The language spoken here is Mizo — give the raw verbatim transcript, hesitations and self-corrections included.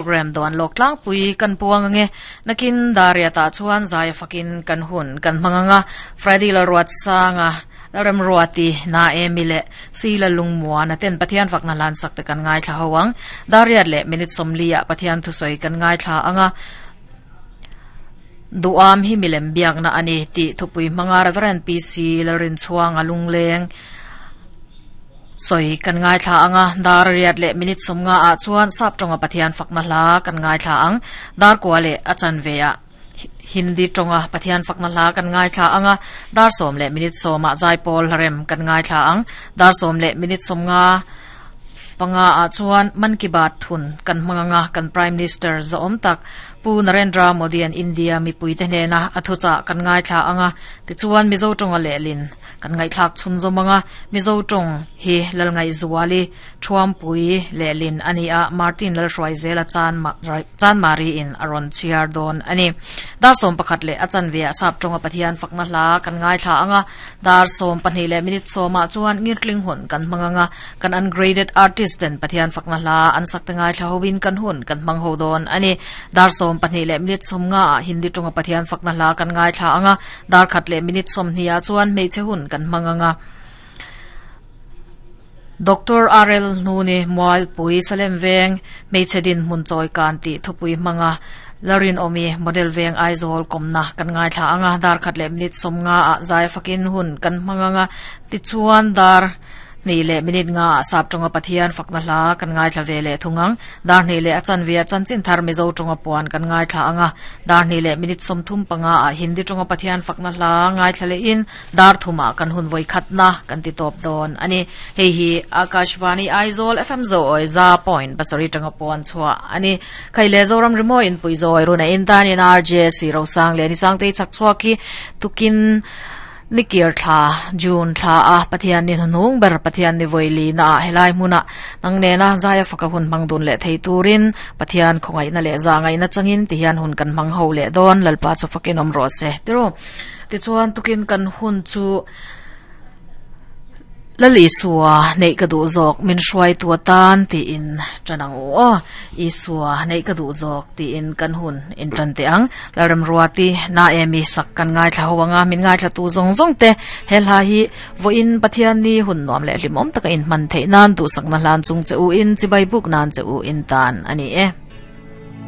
Program don lok tlang pui kan puang ange nakin daria ta chuan zai fakin kan hun kan manganga Friday la ruat sanga ram ruati na emile sila lungmua na ten Pathian fakna lan sak te kan ngai thla hawang dariat le minute somlia Pathian thu soi kan ngai thla anga duam hi milem biak na ani ti thupui manga Reverend P C Larin chuang alungleng soi kan ngai thla anga dar riat le minute somnga a chuan sap tonga Pathian fakna hla kan ngai thla ang dar kwa le achan veya Hindi tonga Pathian fakna hla kan ngai thla anga dar som le minute soma zaipol harem kan ngai thla ang dar som le minute somnga panga a chuan Man Ki Baat thun kan manganga kan Prime Minister zaom tak Pu Narendra Modi an India mi puite hne na athucha kan ngai thla anga ti chuan Mizo tonga le lin kan ngai thlak chun zomanga Mizo tong hi lalngai zuwali thuam pui le lin ani a Martin lal hroi zela chan ma chan mari in aron chiar don ani dar som pakhat le achan ve asap tonga Pathian fakna hla kan ngai thla anga dar som pahnih le minute soma chuan ngirtling hun kan manganga kan ungraded artist ten Pathian fakna hla an sak te ngai thla howin kan hun kan mang ho don ani dar som pahnih le minute som nga Hindi tonga Pathian fakna hla kan ngai thla anga dar khat le minute som hnia chuan meiche hun kan manganga Doctor R L Nuni Mual Pui Salem Veng Meichedin mun choi kan ti thupui manga Larin Omi Model Veng Aizawl komna kan ngai thla anga dar khat le minute som nga a zai fakin hun kan manganga ti chuan dar ni le minute nga sap tonga Pathian fakna hla kan ngai thla vele thungang dar ni le achan ve chan chin thar Mizo tonga puan kan ngai thla anga dar ni le minute som thum panga a Hindi tonga Pathian fakna hla ngai thla le in dar thuma kan hun voi khatna kan ti top don ani hei hi Akashvani Aizawl F M zo oi za point basari tonga puan chua ani khaile Zoram rimo in pui zoi runa in tan in R J C ro sang le ni sang te chak chua ki tukin nikir thla June thla a Pathian ni hnung ber Pathian ni voili na helai muna nang ne na zaya faka hun mangdun le thei turin Pathian khongai na le zangai na changin ti hian hun kan mang ho le don lalpa chu fakin om ro se tiro ti chuan tukin kan hun chu lali suwa nei ka du zok min hruai tua tan ti in chanang o i suwa nei ka du zok ti in kan hun in tan te ang laram ruati na emi sak kan ngai thla hoanga min ngai thla tu zong zong te hel ha hi vo in Pathian ni hun nom le limom taka in man the nan du sak na hlan chung che u in chibai buk nan che u in tan ani e.